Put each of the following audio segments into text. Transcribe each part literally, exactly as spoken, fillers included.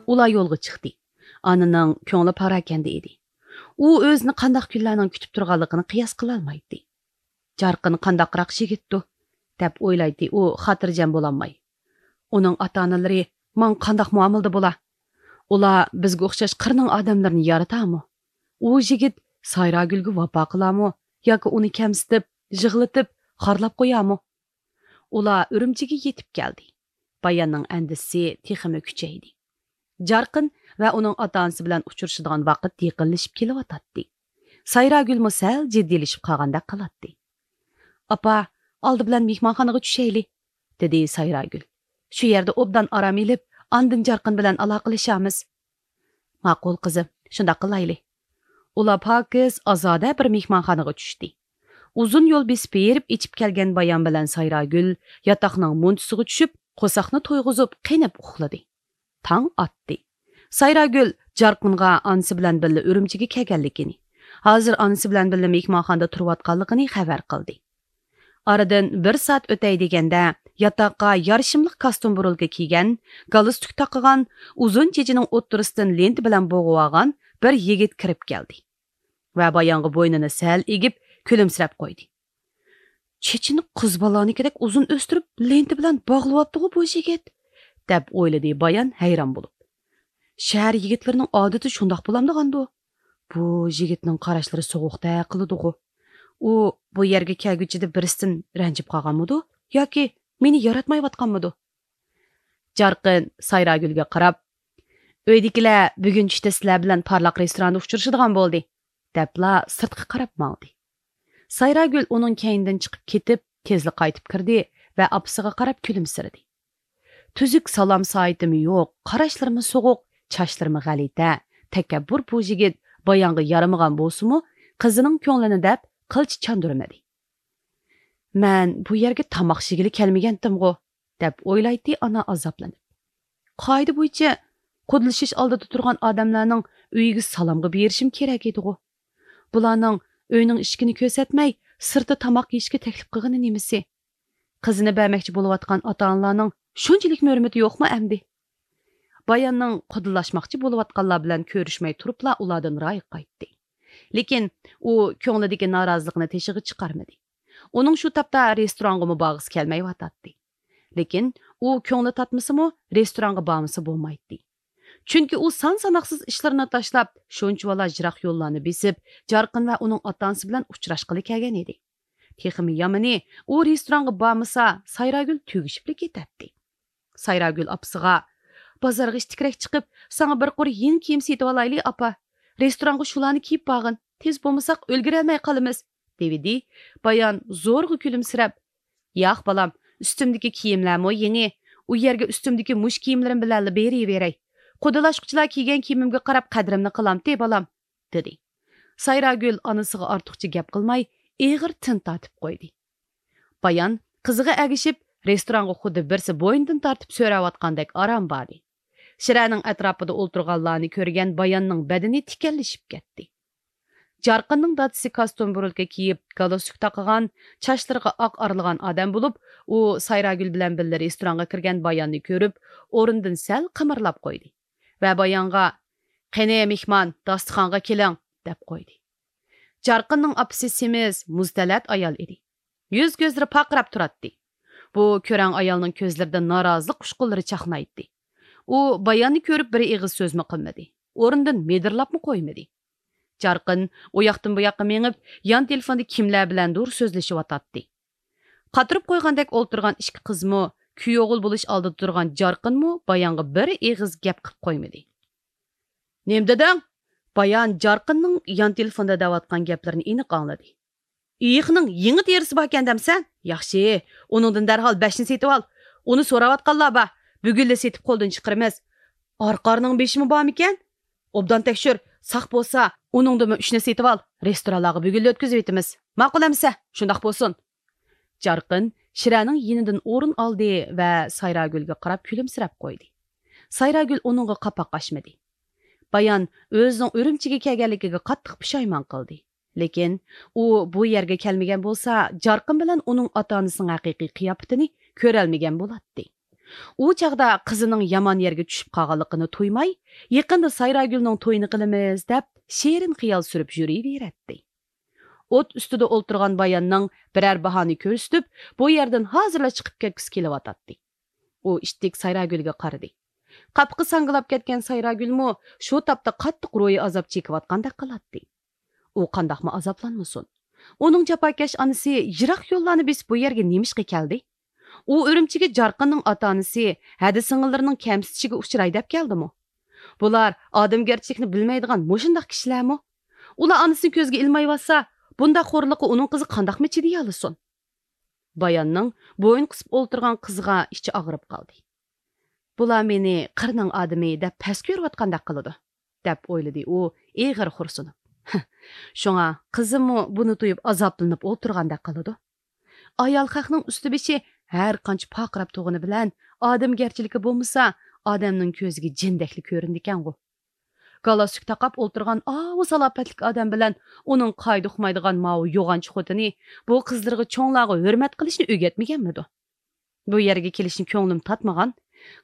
ئۇلار يولغا چىقتى. ئانىنىڭ كۆڭلى پاراكەندە ئىدى. ئۇ ئۆزىنى قانداق كۈنلەرنىڭ كۈتۈپ تۇرغانلىقىنى قىياس قىلالمايتتى. جارقىن قانداقراق يىگىتتۇ، دەپ ئويلايتتى ئۇ خاتىرجەم بولالماي. ئۇنىڭ ئاتا-ئانىلىرى ماڭا قانداق مۇئامىلىدە بولا؟ ئۇلار بىزگە ئوخشاش قىرنىڭ ئادەملىرىنى يارىتامۇ؟ ئۇ يىگىت سايراگۈلگە ۋاپا قىلامۇ ياكى ئۇنى كەمسىتىپ، يىغلىتىپ، خارلاپ قويامۇ؟ ئۇلار ئۈرۈمچىگە يېتىپ كەلدى. باياننىڭ ئەندىشىسى تېخىمۇ كۈچەيدى. جارقىن ۋە ئۇنىڭ ئاتا-ئانىسى بىلەن ئۇچرىشىدىغان ۋاقىت يېقىنلىشىپ كېلىۋاتاتتى. سايراگۈلمۇ سەل جىددىيلىشىپ قالغاندەك قىلاتتى. ئاپا، ئالدى بىلەن مېھمانخانىغا چۈشەيلى، دېدى سايراگۈل. شۇ يەردە ئوبدان ئارام ئېلىپ، ئاندىن جارقىن بىلەن ئالاقىلىشارمىز. ماقۇل قىزىم، شۇنداق قىلايلى. ئۇلار پاكىز، ئازادە بىر مېھمانخانىغا چۈشتى. ئۇزۇن يول بېسىپ بېرىپ ئېچىپ كەلگەن بايان بىلەن سايراگۈل ياتاقنىڭ مۇنچىسىغا چۈشۈپ، قورساقنى تويغۇزۇپ قېنىپ ئۇخلىدى. تاڭ ئاتتى. سايراگۈل جارقىنغا ئانىسى بىلەن بىللە ئۈرۈمچىگە كەلگەنلىكىنى، ھازىر ئانىسى بىلەن بىللە مېھمانخانىدا تۇرۇۋاتقانلىقىنى خەۋەر قىلدى. ئارىدىن بىر سائەت ئۆتەي دېگەندە، ياتاققا يارىشىملىق كاستيۇم بۇرۇلكا كىيگەن، گالستۇك تاقىغان، ئۇزۇن چېچىنىڭ ئوتتۇرىسىدىن لېنتا بىلەن بوغۇۋالغان بىر يىگىت كىرىپ كەلدى ۋە بايانغا بوينىنى سەل ئېگىپ، كۈلۈمسىرەپ قويدى. چېچىنى قىز بالانىڭكىدەك ئۇزۇن ئۆستۈرۈپ، لېنتا بىلەن باغلىۋاپتىغۇ بۇ يىگىت، دەپ ئويلىدى بايان ھەيران بولۇپ. شەھەر يىگىتلىرىنىڭ ئادىتى شۇنداق بولامدىغاندۇ؟ بۇ يىگىتنىڭ قاراشلىرى سوغۇقتەك قىلىدىغۇ. ئۇ بۇ يەرگە كەلگۈچىدە بىرسىدىن رەنجىپ قالغانمىدۇ؟ ياكى مېنى ياراتمايۋاتقانمىدۇ؟ جارقىن سايراگۈلگە قاراپ، ئۆيدىكىلەر بۈگۈن چۈشتە سىلەر بىلەن پارلاق رېستوراندا ئۇچرىشىدىغان بولدى، دەپلا سىرتقا قاراپ ماڭدى. سايراگۈل ئۇنىڭ كەينىدىن چىقىپ كېتىپ، تېزلا قايتىپ كىردى ۋە ئاپىسىغا قاراپ كۈلۈمسىرىدى. تۈزۈك سالام سائىتىمۇ يوق، قاراشلىرىمۇ سوغۇق، چاچلىرىمۇ غەلىتە، تەكەببۇر بۇ يىگىت بايانغا يارىمىغان بولسىمۇ، قىزىنىڭ كۆڭلىنى دەپ قىلچە چاندۇرمىدى. مەن بۇ يەرگە تاماق يېگىلى كەلمىگەنتىمغۇ، دەپ ئويلايتتى ئانا ئازابلىنىپ. قائىدە بويىچە قۇدىلىشىش ئالدىدا تۇرغان ئادەملەرنىڭ ئۆيىگە سالامغا بېرىشىم كېرەك ئىدىغۇ. بۇلارنىڭ ئۆينىڭ ئىشىكىنى كۆرسەتمەي، سىرتتا تاماق يېيىشكە تەكلىپ قىلغىنى نېمىسى؟ قىزىنى بەرمەكچى بولۇۋاتقان ئاتا-ئانىلارنىڭ شۇنچىلىكمۇ ھۆرمىتى يوقمۇ ئەمدى؟ باياننىڭ قۇدىلاشماقچى بولۇۋاتقانلار بىلەن كۆرۈشمەي تۇرۇپلا ئۇلاردىن رايى قايتتى. لېكىن ئۇ كۆڭلىدىكى نارازىلىقىنى تېشىغا چىقارمىدى. ئۇنىڭ شۇ تاپتا رېستورانغىمۇ بارغۇسى كەلمەيۋاتاتتى. لېكىن ئۇ كۆڭلى تارتمىسىمۇ، رېستورانغا بارمىسا بولمايتتى. چۈنكى ئۇ سان-ساناقسىز ئىشلىرىنى تاشلاپ، شۇنچىۋالا يىراق يوللارنى بېسىپ، جارقىن ۋە ئۇنىڭ ئاتا-ئانىسى بىلەن ئۇچراشقىلى كەلگەن ئىدى. تېخىمۇ يامىنى، ئۇ رېستورانغا بارمىسا، سايراگۈل تۈگىشىپلا كېتەتتى. سايراگۈل ئاپىسىغا، بازارغا ئىتتىكرەك چىقىپ، ساڭا بىر قۇر يېڭى كىيىم سېتىۋالايلى، ئاپا. رېستورانغا شۇلارنى كىيىپ بارغىن، تېز بولمىساق ئۈلگۈرەلمەي قالىمىز، دېۋىدى. بايان زورىغا كۈلۈمسىرەپ، ياق، بالام، ئۈستۈمدىكى كىيىملەرمۇ يېڭى. ئۇ يەرگە ئۈستۈمدىكى مۇشۇ كىيىملىرىم بىلەنلا بېرىۋېرەي. قۇدىلاشقۇچىلار كىيگەن كىيىمىمگە قاراپ قەدرىمنى قىلامتى، بالام، دېدى. سايراگۈل ئانىسىغا ئارتۇقچە گەپ قىلماي، ئېغىر تىن تارتىپ قويدى. بايان قىزىغا ئەگىشىپ، رېستورانغا خۇددى بىرسى بوينىدىن تارتىپ سۆرەۋاتقاندەك ئاران باردى. شىرەنىڭ ئەتراپىدا ئولتۇرغانلارنى كۆرگەن باياننىڭ بەدىنى تىكەنلىشىپ كەتتى. جارقىننىڭ دادىسى كاستيۇم بۇرۇلكا كىيىپ، گالستۇك تاقىغان، چاچلىرىغا ئاق ئارىلىغان ئادەم بولۇپ، ئۇ سايراگۈل بىلەن بىللە رېستورانغا كىرگەن باياننى كۆرۈپ، ئورنىدىن سەل قىمىرلاپ قويدى ۋە بايانغا، قېنى، مېھمان، داستىخانغا كېلىڭ، دەپ قويدى. جارقىننىڭ ئاپىسى سېمىز، مۇزتەلەت ئايال ئىدى. يۈز-كۆزلىرى پارقىراپ تۇراتتى. بۇ كۆرەڭ ئايالنىڭ كۆزلىرىدە نارازىلىق ئۇچقۇنلىرى چاقنايتتى. ئۇ باياننى كۆرۈپ بىر ئېغىز سۆزمۇ قىلمىدى. ئورنىدىن مىدىرلاپمۇ قويمىدى. جارقىن ئۇ ياقتىن بۇ ياققا مېڭىپ، يان تېلېفوندا كىملەر بىلەندۇر سۆزلىشىۋاتاتتى. قاتۇرۇپ قويغاندەك ئولتۇرغان ئىككى قىزمۇ، كۈيئوغۇل بولۇش ئالدىدا تۇرغان جارقىنمۇ بايانغا بىر ئېغىز گەپ قىلىپ قويمىدى. نېمە دېدىڭ؟ بايان جارقىننىڭ يان تېلېفوندا دەۋاتقان گەپلىرىنى ئېنىق ئاڭلىدى. ئېيىقنىڭ يېڭى تېرىسى باركەن دەمسەن؟ ياخشى، ئۇنىڭدىن دەرھال بەشنى سېتىۋال. ئۇنى سوراۋاتقانلار بار. بۈگۈنلا سېتىپ قولدىن چىقىرىمىز. ئارقارنىڭ بېشىمۇ بارمىكەن؟ ئوبدان تەكشۈر، ساق بولسا، ئۇنىڭدىنمۇ ئۈچنى سېتىۋال. رېستورانلارغا بۈگۈنلا ئۆتكۈزۈۋېتىمىز. ماقۇل ئەمىسە، شۇنداق بولسۇن. جارقىن شىرەنىڭ يېنىدىن ئورۇن ئالدى ۋە سايراگۈلگە قاراپ كۈلۈمسىرەپ قويدى. سايراگۈل ئۇنىڭغا قاپاق ئاچمىدى. بايان ئۆزىنىڭ ئۈرۈمچىگە كەلگەنلىكىگە قاتتىق پۇشايمان قىلدى. لېكىن ئۇ بۇ يەرگە كەلمىگەن بولسا، جارقىن بىلەن ئۇنىڭ ئاتا-ئانىسىنىڭ ھەقىقىي قىياپىتىنى كۆرەلمىگەن بولاتتى. ئۇ چاغدا قىزىنىڭ يامان يەرگە چۈشۈپ قالغانلىقىنى تۇيماي، يېقىندا سايراگۈلنىڭ تويىنى قىلىمىز دەپ، شېرىن خىيال سۈرۈپ يۈرۈۋېرەتتى. ئوت ئۈستىدە ئولتۇرغان باياننىڭ بىرەر باھانى كۆرسىتىپ، بۇ يەردىن ھازىرلا چىقىپ كەتكۈسى كېلىۋاتاتتى. ئۇ ئىتتىك سايراگۈلگە قارىدى. قاپىقى ساڭگىلاپ كەتكەن سايراگۈلمۇ شۇ تاپتا قاتتىق روھىي ئازاب چېكىۋاتقاندەك قىلاتتى. ئۇ قانداقمۇ ئازابلانمىسۇن؟ ئۇنىڭ جاپاكەش ئانىسى يىراق يوللارنى بېسىپ بۇ يەرگە نېمىشقا كەلدى؟ ئۇ ئۈرۈمچىگە جارقىننىڭ ئاتا-ئانىسى، ھەدە-سىڭىللىرىنىڭ كەمسىتىشىگە ئۇچراي دەپ كەلدىمۇ؟ بۇلار ئادەمگەرچىلىكنى بىلمەيدىغان مۇشۇنداق كىشىلەرمۇ؟ ئۇلار ئانىسىنى كۆزگە ئىلمايۋاتسا، بۇنداق خورلۇققا ئۇنىڭ قىزى قانداقمۇ چىدىيالىسۇن؟ باياننىڭ بويۇن قىسىپ ئولتۇرغان قىزىغا ئىچى ئاغرىپ قالدى. بۇلار مېنى قىرنىڭ ئادىمى دەپ پەس كۆرۈۋاتقاندەك قىلىدۇ، دەپ ئويلىدى ئۇ ئېغىر خورسىنىپ. شۇڭا قىزىممۇ بۇنى تۇيۇپ ئازابلىنىپ ئولتۇرغاندەك قىلىدۇ. ئايال خەقنىڭ ئۈستى بېشى ھەر قانچە پارقىراپ تۇرغىنى بىلەن، ئادەمگەرچىلىكى بولمىسا، ئادەمنىڭ كۆزىگە جىندەكلا كۆرۈنىدىكەنغۇ. گالستۇك تاقاپ ئولتۇرغان ئاۋۇ سالاپەتلىك ئادەم بىلەن ئۇنىڭ قائىدە ئۇقمايدىغان ماۋۇ يوغانچى خوتۇنى بۇ قىزلىرىغا چوڭلارغا ھۆرمەت قىلىشنى ئۆگەتمىگەنمىدۇ؟ بۇ يەرگە كېلىشنى كۆڭلۈم تارتمىغان،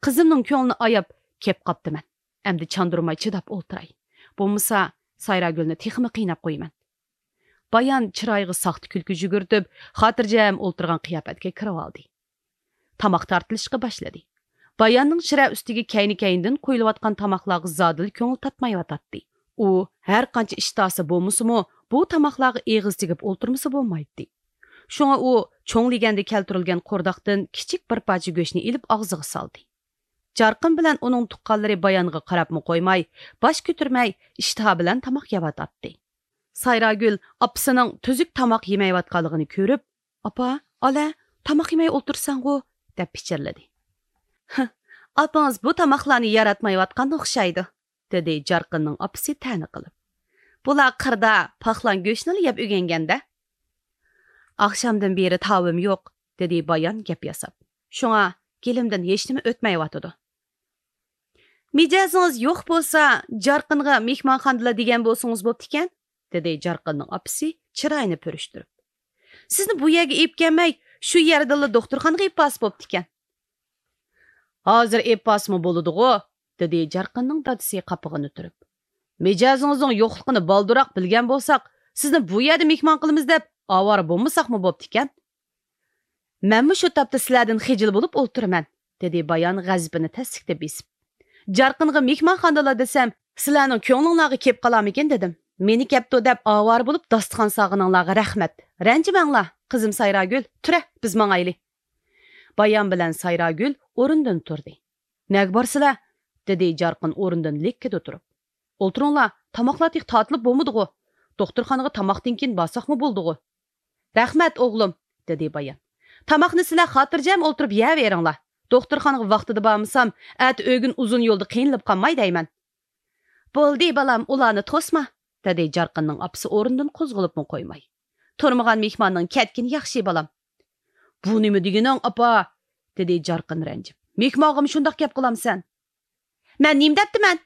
قىزىمنىڭ كۆڭلىنى ئاياپ كەپ قاپتىمەن. ئەمدى چاندۇرماي چىداپ ئولتۇراي. بولمىسا، سايراگۈلنى تېخىمۇ قىيناپ قويىمەن. بايان چىرايىغا ساختا كۈلكە يۈگۈرتۈپ، خاتىرجەم ئولتۇرغان قىياپەتكە كىرىۋالدى. تاماق تارتىلىشقا باشلىدى. باياننىڭ چىرە ئۈستىگە كەينى-كەينىدىن قويۇلۇۋاتقان تاماقلارغا زادىلا كۆڭلى تارتمايۋاتاتتى. ئۇ ھەر قانچە ئىشتىھاسى بولمىسىمۇ، بۇ تاماقلارغا ئېغىز تېگىپ ئولتۇرمىسا بولمايتتى. شۇڭا ئۇ چوڭ لېگەندە كەلتۈرۈلگەن قورداقتىن كىچىك بىر پارچە گۆشنى ئېلىپ ئاغزىغا سالدى. جارقىن بىلەن ئۇنىڭ تۇغقانلىرى بايانغا قاراپمۇ قويماي، باش كۆتۈرمەي، ئىشتىھا بىلەن تاماق يەۋاتاتتى. سايراگۈل ئاپىسىنىڭ تۈزۈك تاماق يېمەيۋاتقانلىقىنى كۆرۈپ، «ئاپا، ئالە، تاماق يېمەي ئولتۇرساڭغۇ؟» دەپ پىچىرلىدى. «ھە، ئاپىڭىز بۇ تاماقلارنى ياراتمايۋاتقانغا ئوخشايدۇ»، دېدى جارقىننىڭ ئاپىسى تەنە قىلىپ. «بۇلار قىردا پاقلان گۆشنىلا يەپ ئۆگەنگەندە.» «ئاخشامدىن بېرى تاۋىم يوق»، دېدى بايان گەپ ياساپ. «شۇڭا گېلىمدىن ھېچنېمە ئۆتمەيۋاتىدۇ.» «مىجەزىڭىز يوق بولسا، جارقىنغا مېھمانخانىدىلا دېگەن بولسىڭىز بوپتىكەن»، دېدى جارقىننىڭ ئاپىسى چىرايىنى پۈرۈشتۈرۈپ. «سىزنى بۇ يەرگە ئېلىپ كەلمەي، شۇ يەردىلا دوختۇرخانىغا ئېلىپ بارسا بوپتىكەن.» «ھازىر ئېلىپ بارسىمۇ بولىدىغۇ»، دېدى جارقىننىڭ دادىسى قاپىقىنى تۈرۈپ. «مىجەزىڭىزنىڭ يوقلۇقىنى بالدۇرراق بىلگەن بولساق، سىزنى بۇ يەردە مېھمان قىلىمىز دەپ ئاۋارە بولمىساقمۇ بوپتىكەن.» «مەنمۇ شۇ تاپتا سىلەردىن خىجىل بولۇپ ئولتۇرىمەن»، دېدى بايان غەزىپىنى تەسلىكتە بېسىپ. «جارقىنغا مېھمانخانىدىلا دېسەم، سىلەرنىڭ كۆڭلۈڭلارغا كېلىپ قالارمىكىن دېدىم. مېنى كەپتۇ دەپ ئاۋارە بولۇپ داستىخان سالغىنىڭلارغا رەھمەت. رەنجىمەڭلار، قىزىم سايراگۈل، تۈرە، بىز ماڭايلى.» بايان بىلەن سايراگۈل ئورنىدىن تۇردى. «نەگە بارىسىلەر؟» دېدى جارقىن ئورنىدىن لىككىدە تۇرۇپ. «ئولتۇرۇڭلار، تاماقلار تېخى تارتىلىپ بولمىدىغۇ. دوختۇرخانىغا تاماقتىن كېيىن بارساقمۇ بولىدىغۇ.» «رەھمەت، ئوغلۇم»، دېدى بايان. «تاماقنى سىلەر خاتىرجەم ئولتۇرۇپ يەۋېرىڭلار. دوختۇرخانىغا ۋاقتىدا بارمىسام، ئەتە ئۆگۈن ئۇزۇن يولدا قىينىلىپ قالماي دەيمەن.» «بولدى، بالام، ئۇلارنى توسما»، دېدى جارقىننىڭ ئاپىسى ئورنىدىن قوزغىلىپمۇ قويماي. «تۇرمىغان مېھماننىڭ كەتكىنى ياخشى، بالام.» «بۇ نېمە دېگىنىڭ، ئاپا؟» دېدى جارقىن رەنجىپ. «مېھمانغىمۇ شۇنداق گەپ قىلامسەن؟» «مەن نېمە دەپتىمەن؟»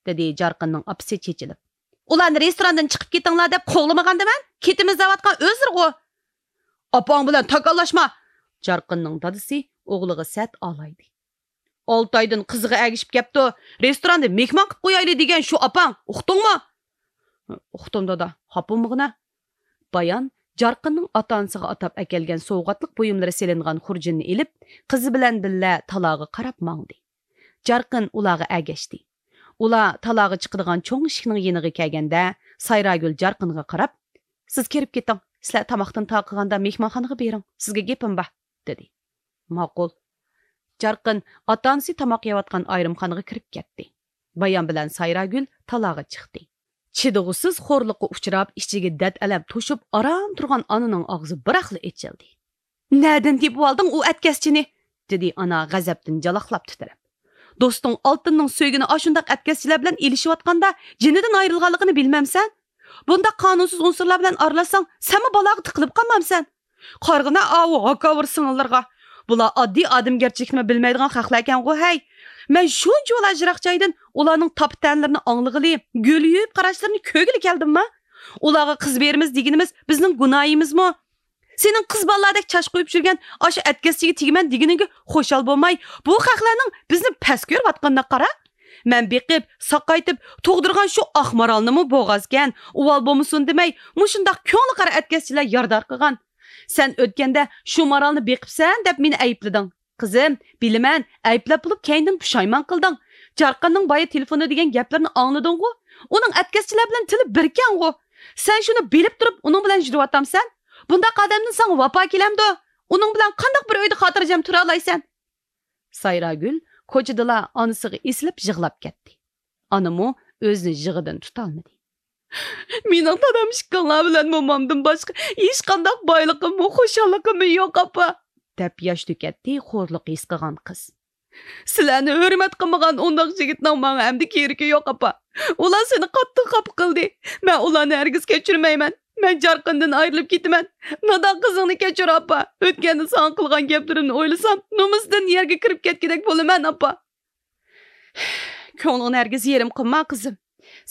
دېدى جارقىننىڭ ئاپىسى چېچىلىپ. «ئۇلارنى رېستوراندىن چىقىپ كېتىڭلار دەپ قوغلىمىغاندىمەن؟ كېتىمىز دەۋاتقان ئۆزلىرىغۇ.» «ئاپاڭ بىلەن تاكاللاشما!» جارقىننىڭ دادىسى ئوغلىغا سەت ئالايدى. «ئالتە ئايدىن قىزىغا ئەگىشىپ كەپتۇ، رېستوراندا مېھمان قىلىپ قويايلى دېگەن شۇ ئاپاڭ، ئۇقتۇڭمۇ؟» «ئۇقتۇم، دادا، خاپا بولمىغىنە.» بايان جارقىننىڭ ئاتا-ئانىسىغا ئاتاپ ئەكەلگەن سوۋغاتلىق بۇيۇملىرى سېلىنغان خۇرجۇننى ئېلىپ، قىزى بىلەن بىللە تالاغا قاراپ ماڭدى. جارقىن ئۇلارغا ئەگەشتى. ئۇلار تالاغا چىقىدىغان چوڭ ئىشىكنىڭ يېنىغا كەلگەندە، سايراگۈل جارقىنغا قاراپ، «سىز كىرىپ كېتىڭ، سىلەر تاماقتىن تارقىغاندا مېھمانخانىغا بېرىڭ، سىزگە گېپىم بار» دېدى. «ماقۇل.» جارقىن ئاتا-ئانىسى تاماق يەۋاتقان ئايرىمخانىغا كىرىپ كەتتى. بايان بىلەن سايراگۈل تالاغا چىقتى. چىدىغۇسىز خورلۇققا ئۇچراپ، ئىچىگە دەرد-ئەلەم توشۇپ، ئاران تۇرغان ئانىنىڭ ئاغزى بىراقلا ئېچىلدى. «نەدىن تېپىۋالدىڭ ئۇ ئەتكەسچىنى؟» دېدى ئانا غەزەپتىن جالاقلاپ تىترەپ. «دوستۇڭ ئالتۇننىڭ سۆيگىنى ئاشۇنداق ئەتكەسچىلەر بىلەن ئېلىشىۋاتقاندا جېنىدىن ئايرىلغانلىقىنى بىلمەمسەن؟ بۇنداق قانۇنسىز ئۇنسۇرلار بىلەن ئارىلاشساڭ، سەنمۇ بالاغا تىقىلىپ قالمامسەن؟ قارىغىنا ئاۋۇ ھاكاۋۇر سىڭىللىرىغا. بۇلار ئاددىي ئادەمگەرچىلىكنىمۇ بىلمەيدىغان خەقلەركەنغۇ ھەي. مەن شۇنچىۋالا يىراق جايدىن ئۇلارنىڭ تاپا-تەنىلىرىنى ئاڭلىغىلى، گۈل يۇيۇپ قاراشلىرىنى كۆرگىلى كەلدىمما؟ ئۇلارغا قىز بېرىمىز دېگىنىمىز بىزنىڭ گۇناھىمىزمۇ؟» سېنىڭ قىز بالىلاردەك چاچ قويۇپ يۈرگەن ئاشۇ ئەتكەسچىگە تېگىمەن دېگىنىڭگە خۇشال بولماي، بۇ خەقلەرنىڭ بىزنى پەس كۆرۈۋاتقىنىغا قارا. مەن بېقىپ، ساقايتىپ، تۇغدۇرغان شۇ ئاق مارالنىمۇ بوغازكەن، ئۇۋال بولمىسۇن دېمەي، مۇشۇنداق كۆڭلى قارا ئەتكەسچىلەر يارىدار قىلغان. سەن ئۆتكەندە شۇ مارالنى بېقىپسەن دەپ مېنى ئەيىبلىدىڭ. قىزىم، بىلىمەن، ئەيىبلەپ بولۇپ كەينىدىن پۇشايمان قىلدىڭ. جارقىننىڭ بايا تېلېفوندا دېگەن گەپلىرىنى ئاڭلىدىڭغۇ؟ ئۇنىڭ ئەتكەسچىلەر بىلەن تىلى بىركەنغۇ؟ سەن شۇنى بىلىپ تۇرۇپ ئۇنىڭ بىلەن يۈرۈۋاتامسەن؟ بۇنداق ئادەمدىن ساڭا ۋاپا كېلەمدۇ؟ ئۇنىڭ بىلەن قانداق بىر ئۆيدە خاتىرجەم تۇرالايسەن؟ سايراگۈل كوچىدىلا ئانىسىغا ئېسىلىپ يىغلاپ كەتتى. ئانىمۇ ئۆزىنى يىغىدىن تۇتالمىدى. مېنىڭ دادام ئىككىڭلار بىلەن مومامدىن باشقا ھېچقانداق بايلىقىممۇ، خۇشاللىقىممۇ يوق، ئاپا، دەپ ياش تۆكەتتى خورلۇق ھېس قىلغان قىز. سىلەرنى ھۆرمەت قىلمىغان ئۇنداق يىگىتنىڭ ماڭا ئەمدى كېرىكى يوق، ئاپا. ئۇلار سېنى قاتتىق خاپا قىلدى. مەن ئۇلارنى ھەرگىز كەچۈرمەيمەن. مەن جارقىندىن ئايرىلىپ كېتىمەن. نادان قىزىڭنى كەچۈر، ئاپا. ئۆتكەندە ساڭا قىلغان گەپلىرىمنى ئويلىسام، نومۇستىن يەرگە كىرىپ كەتكۈدەك بولىمەن، ئاپا. كۆڭلۈڭنى ھەرگىز يېرىم قىلما، قىزىم.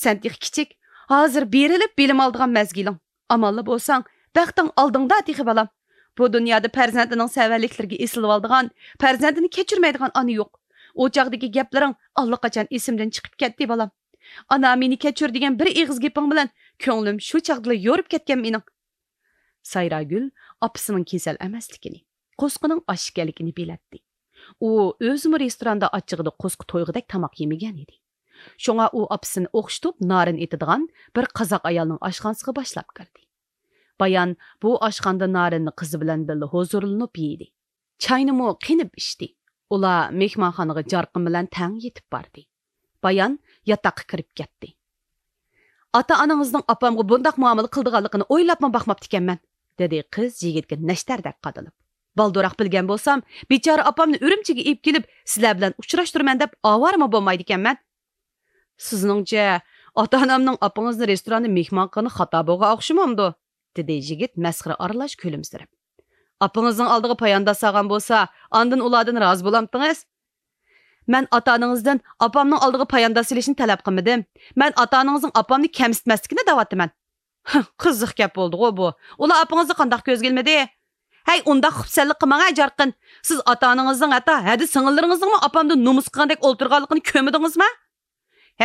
سەن تېخى كىچىك. ھازىر بېرىلىپ بىلىم ئالىدىغان مەزگىلىڭ. ئامانلا بولساڭ، بەختىڭ ئالدىڭدا تېخى، بالام. بۇ دۇنيادا پەرزەنتىنىڭ سەۋەنلىكلىرىگە ئېسىلىۋالىدىغان، پەرزەنتىنى كەچۈرمەيدىغان ئانا يوق. ئۇ چاغدىكى گەپلىرىڭ ئاللىقاچان ئېسىمدىن چىقىپ كەتتى، بالام. ئانا، مېنى كەچۈر دېگەن بىر ئېغىز گېپىڭ بىلەن كۆڭلۈم شۇ چاغدىلا يورۇپ كەتكەن مېنىڭ. سايراگۈل ئاپىسىنىڭ كېسەل ئەمەسلىكىنى، قورسىقىنىڭ ئاچ ئىكەنلىكىنى بىلەتتى. ئۇ ئۆزىمۇ رېستوراندا ئاچچىقىدا قورسىقى تويغۇدەك تاماق يېمىگەن ئىدى. شۇڭا ئۇ ئاپىسىنى ئوخشىتىپ نارىن ئېتىدىغان بىر قازاق ئايالنىڭ ئاشخانىسىغا باشلاپ كىردى. بايان بۇ ئاشخانىدا نارىننى قىزى بىلەن بىللە ھۇزۇرلىنىپ يېدى. چاينىمۇ قېنىپ ئىچتى. ئۇلار مېھمانخانىغا جارقىن بىلەن تەڭ يېتىپ باردى. بايان ياتاققا كىرىپ كەتتى. ئاتا-ئانىڭىزنىڭ ئاپامغا بۇنداق مۇئامىلە قىلىدىغانلىقىنى ئويلاپمۇ باقماپتىكەنمەن، دېدى قىز يىگىتكە نەشتەردەك قادىلىپ. بالدۇراق بىلگەن بولسام، بىچارە ئاپامنى ئۈرۈمچىگە ئېلىپ كېلىپ، سىلەر بىلەن ئۇچراشتۇرىمەن دەپ ئاۋارىمۇ بولمايدىكەنمەن. سىزنىڭچە، ئاتا-ئانامنىڭ ئاپىڭىزنى رېستوراندا مېھمان قىلغىنى خاتا بولغان ئوخشىمامدۇ؟ دېدى يىگىت مەسخىرە ئارىلاش كۈلۈمسىرەپ. ئاپىڭىزنىڭ ئالدىغا پايانداز سالغان بولسا، ئاندىن ئۇلاردىن رازى بولامتىڭىز؟ مەن ئاتا-ئانىڭىزدىن ئاپامنىڭ ئالدىغا پايانداز سېلىشنى تەلەپ قىلمىدىم. مەن ئاتا-ئانىڭىزنىڭ ئاپامنى كەمسىتمەسلىكىنى دەۋاتىمەن. ھە، قىزىق گەپ بولدىغۇ بۇ. ئۇلار ئاپىڭىزنى قانداق كۆزگە ئىلمىدى؟ ھەي، ئۇنداق خۇپسەنلىك قىلماڭ ھە، جارقىن. سىز ئاتا-ئانىڭىزنىڭ، ھەتتا ھەدە سىڭىللىرىڭىزنىڭمۇ ئاپامدىن نومۇس قىلغاندەك ئولتۇرغانلىقىنى كۆرمىدىڭىزما؟